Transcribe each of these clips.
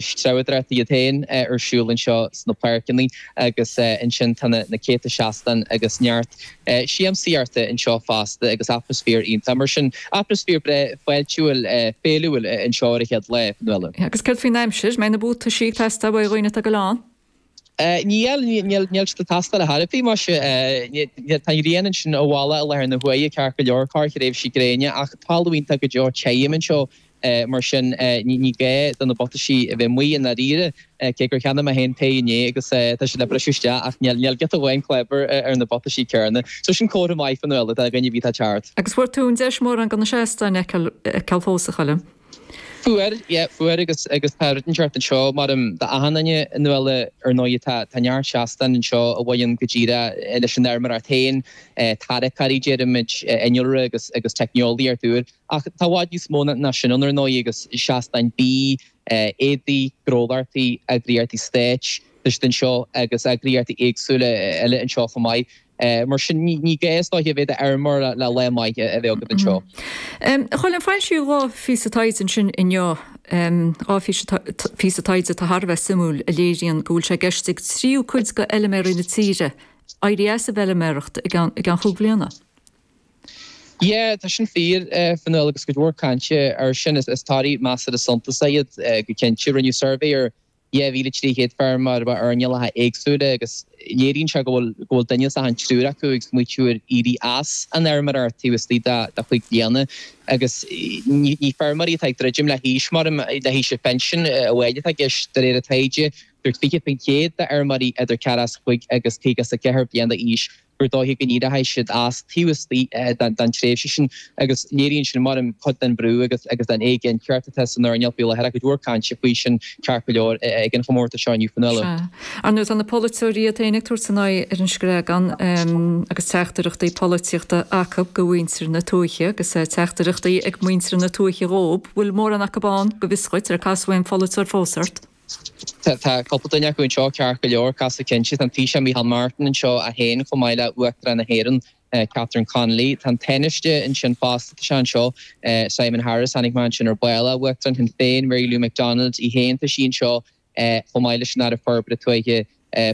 Treabhdóireachta iad féin ar siúl anseo sna páirceanna agus ansin tá na céadta seastán agus neart siamsaíochta anseo fosta agus atmaisféar iontach. Mar sin, atmaisféar breá fáiltiúil, féiliúil anseo ar an chéad lá, Fionnuala. Agus céard faoin aimsir? Mbeidh na buataisí ag teastáil uaidh dhaoine atá ag goil ann? Níl, níl siad ag teastáil ar chor ar bith, muise. Tá an ghrian ansin i bhfolach i láthair na huaire, ceart go leor, corrthréimhsí gréine, ach talamh iontach go deo tirim anseo, mar sin ní gá do na buataisí a bheith amuigh i ndáiríre, cé gur cheannaigh mé féin péire inné agus tá siad le briseadh isteach ach níl giota amháin clábar ar na buataisí céanna. So sin comhartha maith, Fionnuala, do dhuine ar bith atá ag teacht. Agus fuair tú an deis mórán de na seastáin a fheiceáil fós, a Choilm? Fuair, yeah, fuair agus agus tá rud inteacht anseo maram d'achan duine a Fhionnuala ar ndóigh tá tá neart seastán anseo a bhaineann go díreach leis an fheirmeoireacht féin, tarracóirí deirimid, innealra agus agus teicneolaíocht úr. Ach tá i bhfad níos mó ná sin ann ar ndóigh agus seastáin bídh, éadaí, gnólachtaí, eagraíochtaí stáit, tá siad anseo agus eagraíochtaí éagsúla eile anseo chomh maith. Mar sin, ní gá is dóiche a bheith i d'fheirmeoir le lá maith a bheith agat anseo. A Choilm, foilsíodh 2 phíosa taighde ansin inniu, 2 phíosa taighde atá thar a bheith suimiúil a léiríonn go bhfuil sé i gceist ag tríú cuid de fheilméaraí na tíre éirí as an bhfeilméaracht i gceann chúig bhliana. Yeah, tá sin fíor, a Fhionnuala, agus cuid mhór cainte air sin. Is torthaí measartha suntasach iad go cinnte. Rinneadh suirbhé ar 2,300 feirmeoir ó earnálacha éagsúla agus léiríonn sé go bhfuil go bhfuil duine as achan triúr acu ag smaoitiú ar éirí as an fheirmeoireacht taobh istigh de chúig bliana agus ní ní feirmeoirí atá ag druidim le haois mar le haois an phinsin amháin atá i gceist de réir an taighde. Dúirt 20% d'fheirmeoirí idir 45 agus 54 bliain d'aois gur dóiche go n-éireoidh siad as taobh istigh den tréimhse sin agus léiríonn sin, maram, cuid den bhrú agus agus den éiginnteacht atá san earnáil faoi láthair. Cuid mhór cainte faoi sin ceart go leor ag an chomórtas seo inniu, Fionnuala. Sea. Ar ndóigh, tá na polaiteoirí iad féin ag tabhairt a n-aghaidh ar an Screagán agus teachtaireachtaí polaitíochta acu go mhuintir na tuaithe agus teachtaireachtaí ag muintir na tuaithe dhóib. Bhfuil mórán acu ann, go bhfios dhuit, ar casadh aon pholaiteoir fós ort? Tá cúpla duine acu anseo ceart go leor, casadh cinnte. Tá an Taoiseach Micheál Martin anseo é féin chomh maith le Uachtarán na hÉireann, Catherine Connolly. Tá an Tánaiste ansin fosta, tá sé anseo, Simon Harris, chonaic mé ansin ar ball é, Uachtarán Shinn Féin, Mary Lou McDonald í féin, tá sí anseo chomh maith leis an Aire Forbartha Tuaithe,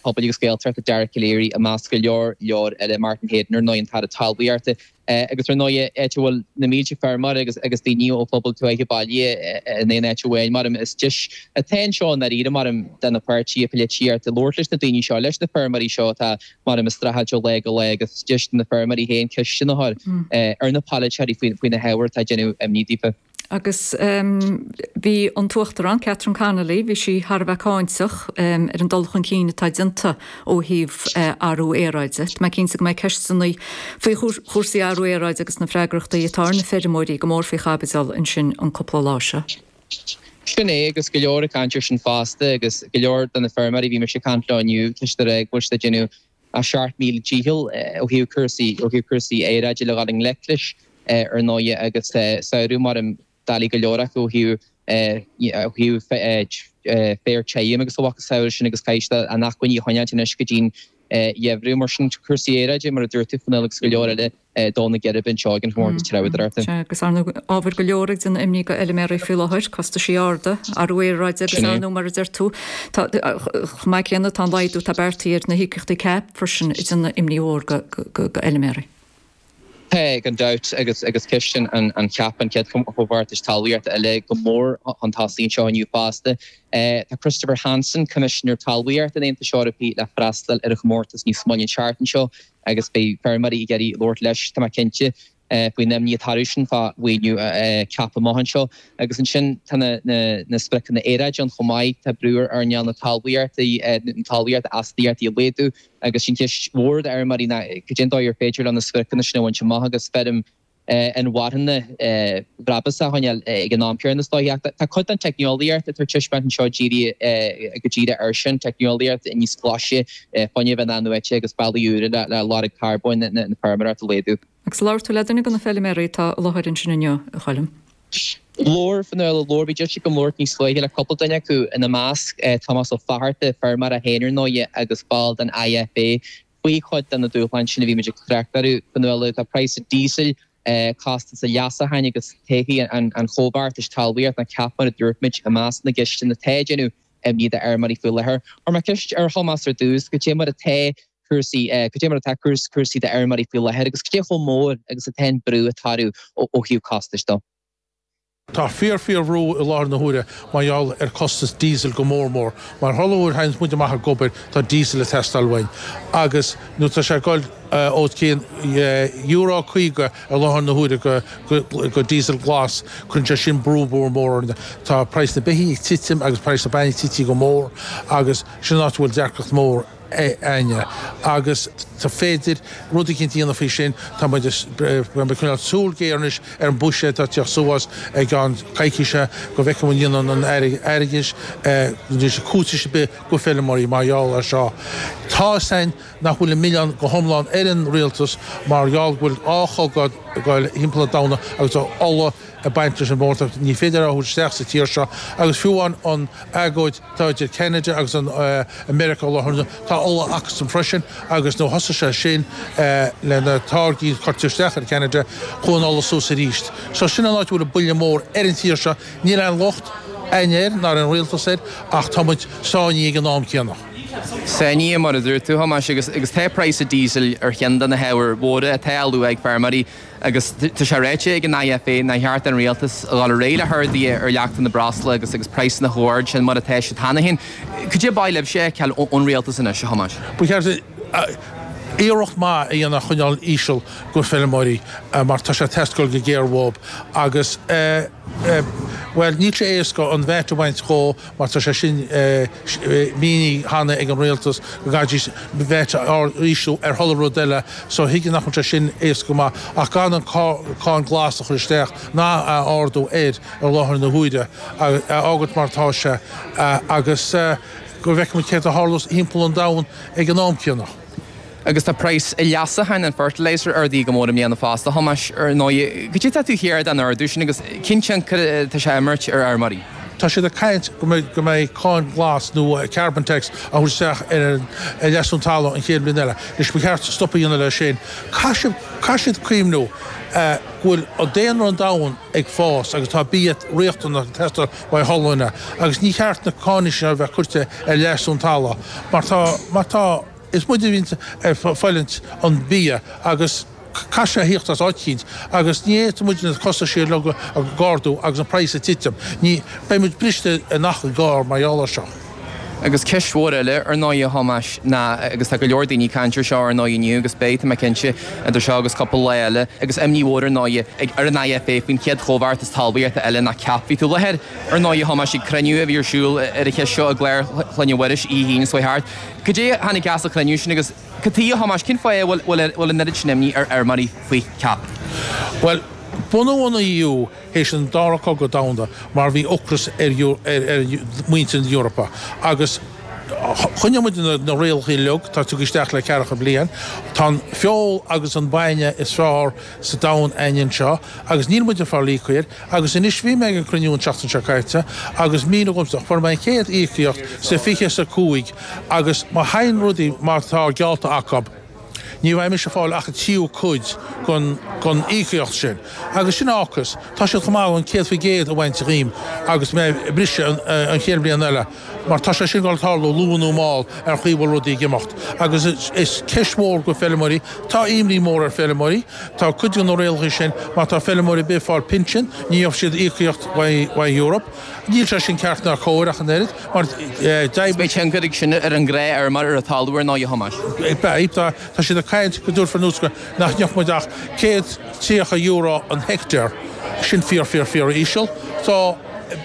Pobail agus Gaeltachta, Dara Calleary, i measc go leor leor eile, Martin Heydon ar ndóigh, an tAire Talmhaíochta. Agus ar ndóigh, áit a bhfuil na mílte feirmeoir agus agus daoine ó phobal tuaithe bailithe in aon áit amháin, maram, is deis atá anseo i ndáiríre, maram, do na páirtithe polaitíochta labhairt leis na daoine seo, leis na feirmeoirí seo atá, maram, ag streachailt ó lá go lá agus deis do na feirmeoirí féin ceisteanna a chur ar na polaiteoirí faoi na hábhair atá ag déanamh imní daofa. Agus bhí an tUachtarán, Catherine Connolly, bhí sí thar a bheith cáinteach ar an dul chun cinn atá déanta ó thaobh athrú aeráide. Tá mé cinnte go mbeidh ceisteanna faoi chúrsaí athrú aeráide agus na freagrachtaí atá ar na feirmeoirí go mór faoi chaibidil ansin an cúpla lá seo. Sin é, agus go leor ag caint air sin fosta agus go leor de na feirmeoirí a bhí mise ag caint leo inniu, tá siad ag rá go bhfuil siad ag déanamh a 7,000 dícheall ó thaobh cúrsaí ó thaobh cúrsaí aeráide le dhul i ngleic leis ar ndóighe agus samhradh mar doiligh go leor acu ó thaobh ó thaobh féar tirim agus a mhacasamhail sin agus caithfidh siad a n-acmhainní a choinneáilt anois go dtí'n gheimhreadh. Mar sin cúrsaí aeráide mar a dúirt tú Fionnuala agus go leor eile ag dó na geirbe anseo ag an chomórtas treabhdóireachta. Sea, agus ar ndóigh ábhair go leor ag déanamh imní go fheilméaraí faoi láthair, costaisí arda, athrú aeráide agus ar ndóigh mar a deir tú, tá, chomh maith céanna tá an laghdú atá beartaithe ar na híocaíochtaí CAP freisin ag déanamh imní mhór go, go, go fheilméaraí. Tá, gan dabht, agus agus ceist an an CAP, an chéad chomhbheartas talmhaíochta eile, go mór chun tosaigh anseo inniu fosta. Tá Christopher Hansen, Coimisinéir Talmhaíochta an Aontais Eorpaigh le freastal ar an chomórtas níos moille an tseachtain seo. agus beidh feirmeoirí ag iarraidh labhairt leis, tá mé cinnte, faoin imní atá orthu sin fá mhaoiniú CAP amach anseo. Agus ansin tá na spriocanna aeráide ann chomh maith, tá brú ar earnáil na talmhaíochta, na talmhaíochta astaíochtaí a laghdú agus sin ceist mhór d'fheirmeoirí ná cad é an dóigh ar féidir leo na spriocanna sin a bhaint amach agus feirm inmharthana bhrabúsach a choinneáil ag an am céanna is dóiche. Ach tá cuid den teicneolaíocht atá ar taispeáint anseo dírithe go díreach air sin, teicneolaíocht níos glaise, fuinneamh in-athnuaite agus bealaí úra le lorg carbóin na feirmeoireachta a laghdú. Agus labhair tú le duine de na feilméaraí atá i láthair ansin inniu, a Choilm? Labhair, Fionnuala, labhair. Bhí deis agam labhairt níos luaithe le cúpla duine acu, ina measc Tomás Ó Fatharta, feirmeoir é féin ar ndóighe agus ball den IFA, faoi chuid de na dúshláin sin a bhí muid ag trácht orthu, Fionnuala. Tá praghas an díosail. Costas an leasacháin agus todhchaí an chomhbheartais talmhaíochta nó CAP mar a dúirt muid i measc na gceisteanna atá ag déanamh imní d'fheirmeoirí faoi láthair. Chuir mé ceist ar Thomás ar dtús, cad é mar atá cúrsaí, cad é mar atá cúrsaí d'fheirmeoirí faoi láthair agus cad é chomh mór agus atá an brú ag tarlú ó thaobh costais dó. Tá fíor fíor bhrú i láthair na huaire mar gheall ar costas diesel go mór mór. Mar chuile uair théanns muid amach ag obair tá diesel ag teastáil uainn agus nuair tá sé ag goil os cionn euro 50 i láthair na huaire go diesel glas cuireann sé sin brú mór mór orainn. Tá praghas na beithígh ag titim agus praghas na bainne tití go mór agus sin an áit a bhfuil deacracht mór. againne agus tá féidir rud eicínt a dhéanamh faoi sin. Tá muid ag coinneáil súil géar anois ar an buiséad atá ag teacht suas i gceann coicíse go bhfeicfidh muid an ndéanann an Aire Airgeadais anois cúiteamh ar bith go feirmeoirí mar gheall ar seo. Tá fhios a'inn nach bhfuil an milleán go hiomlán ar an rialtas mar gheall go bhfuil dhá chogadh ag goil thimpeall an domhain agus tá ola ag baint leis an mórtacht. Ní féidir é a thabhairt isteach sa tír seo agus fiú amháin an agóid atá idir Ceanada agus an Meiriceá i láthair na tá ola acusan freisin agus nuair a thosaigh sé sin le na táirgí a cuirtear isteach ar Ceanada chuaigh an ola suas arís. So sin an áit a bhfuil an buille mór ar an tír seo. Níl aon locht a'inn air ná ar an rialtas air ach tá muid sáinnithe ag an am céanna. Sáinnithe mar a dúirt tú, Thomáis, agus tá praghas an diesel ar cheann de na hábhair mhóra atá á lua ag feirmeoirí. Agus tá sé ráite ag an IFA nár cheart don rialtas a dhul ar aghaidh le harduithe ar leachtanna breosla agus agus praghsanna chomh hard sin mar atá siad cheana féin. Cad é ba mhaith libhse a fheiceáil ón rialtas anois, a Thomáis? Ba cheart iarracht maith a dhéanamh a choinneáil íseal go feirmeoirí mar tá sé ag teastáil go géar uathu agus bhuel níl sé éasca an VAT a bhaint dhó mar tá sé sin mínithe cheana ag an rialtas go gcaithfidís VAT a ísliú ar chuile rud eile so thuigim nach bhfuil sé sin éasca go maith ach gan an cáin glas a chur isteach ná a ardú air i láthair na huaire, a fhágailt mar atá sé agus go bhfeicfidh muid céard a tharlós thimpeall an domhain ag an am céanna. Agus tá praghas an leasacháin, an fertiliser, ardaithe go mór i mbliana fosta, a Thomáis, ar ndóigh. Cad é atá tú a thuar den ardú sin agus cén tionchar atá sé a imirt ar fheirmeoirí? Tá siad ag caint go mbeidh go mbeidh cáin ghlas nó carbon tax á thabhairt isteach ar an leasú talaimh an chéad bhliain eile. Anois ba cheart stop a dhéanamh leis sin. Caithfidh caithfidh siad cuimhniú go bhfuil an daonra an domhain ag fás agus tá bia riachtanach ag teastáil uaidh chuile dhuine agus ní cheart na cáin seo a bheith curtha ar leasú an talaimh mar tá mar tá Is muid a bhíonns ag fáilint an bia agus caithfidh sé a thíocht as áit eicínt agus ní fhéadfaidh muid na costais uilig a ardú agus an praghas ag titim. Ní, beidh muid briste in achan gcarr mar gheall air seo. Agus ceist mhór eile, ar ndóigh, a Thomáis, ná, agus tá go leor daoine ag caint air seo, ar ndóigh, inniu agus beidh, tá mé cinnte, idir seo agus cúpla lá eile, agus imní mhór, ar ndóigh, ag ar an IFA faoin chéad chomhbheartas talmhaíochta eile nó CAP. Bhí tú i láthair, ar ndóigh, a Thomáis, ag cruinniú a bhí ar siúl ar an cheist seo i gClár Chlainne Mhuiris oíche hAoine seo thart. Cad é a tháinig as an chruinniú sin agus cad chuige, a Thomáis, cén fáth a bhfuil an oiread sin imní ar fheirmeoirí faoi CAP? Bhuel, bunú an EU théis an Dara Cogadh Domhanda mar bhí ocras ar mhuintir na hEorpa agus choinnigh muid na rialacha uilig atá tugtha isteach le ceathracha bliain. Tá an feoil agus an bainne is fearr sa domhan a'inn anseo agus níl muid ag fáil íocaí air. Agus anois, bhí mé ag an cruinniú an tseachtain seo caite agus míniú dhomsa, fuair mé an chéad íocaíocht sa 25 agus má théann rudaí mar atá geallta acu, ní bheidh mise ag fáil ach an tríú cuid den íocaíocht sin. Agus sin ocras. Tá siad chomh maith an 100% a bhaint dhíom agus mé ag briseadh an chéad bhliain eile. Mar tá sé sin ag dul tarlú luath nó mall ar chaoi a bhfuil rudaí ag imeacht. Agus is ceist mhór go feilmeoirí, tá imní mór ar feilmeoirí, tá cuid de na rialacha sin, má tá feilmeoirí ar bith ag fáil pinsean, ní gheobhaidh siad íocaíocht uaidh Europe. Níl sé sin ceart ná cóir ach an oiread, mar d'oibrigh. Beidh tionchar ag sin ar an ngnáthfheirmeoir ar an talamh ar ndóigh, a Thomáis. Beidh, tá siad ag caint go dtabharfar anuas go nach ngeobhaidh muid ach €130 an heicteár, sin fíor fíor fíor íseal. So.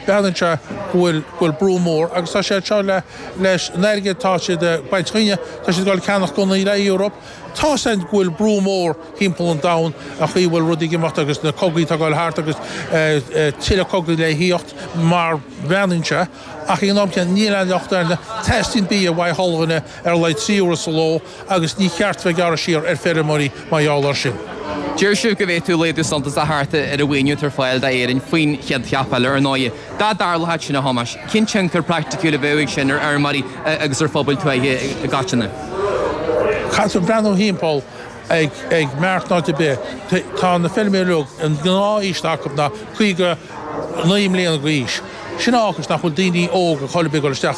Breathnaíonn sé go bhfuil go bhfuil brú mór agus tá sé seo le leis an airgead atá siad ag baint dhínne, tá siad ag dul ag ceannach gunnaí le Europe. Tá 's a'inn go bhfuil brú mór thimpeall an domhain an chaoi a bhfuil rudaí ag imeacht agus na cogaí atá ag dul thart agus tuilleadh cogaí le thíocht mar bhreathnaíonn sé ach ag an am céanna níl aon locht air. Teastaíonn bia uaidh chuile dhuine ar a laghad 3 uaire sa ló agus ní cheart bheith ag gearradh siar ar feirmeoirí mar gheall air sin. Deir sibh go bhféadfadh laghdú suntasach theacht ar an mhaoiniú atá ar fáil d'Éirinn faoin chéad CAP eile, ar ndóigh. Dá dtarlódh sin, a Thomáis, cén tionchar praiticiúil a bheadh ag sin ar fheirmeoirí agus ar phobail tuaithe i gcoitinne? Caithfear breathnú thimpeall. Ag maireachtáil áit ar bith. Tá na feilméaraí uilig, an gnáth-aois atá acu ná 59 mbliana d'aois. Sin a fhágas nach bhfuil daoine óga chor ar bith ag dul isteach.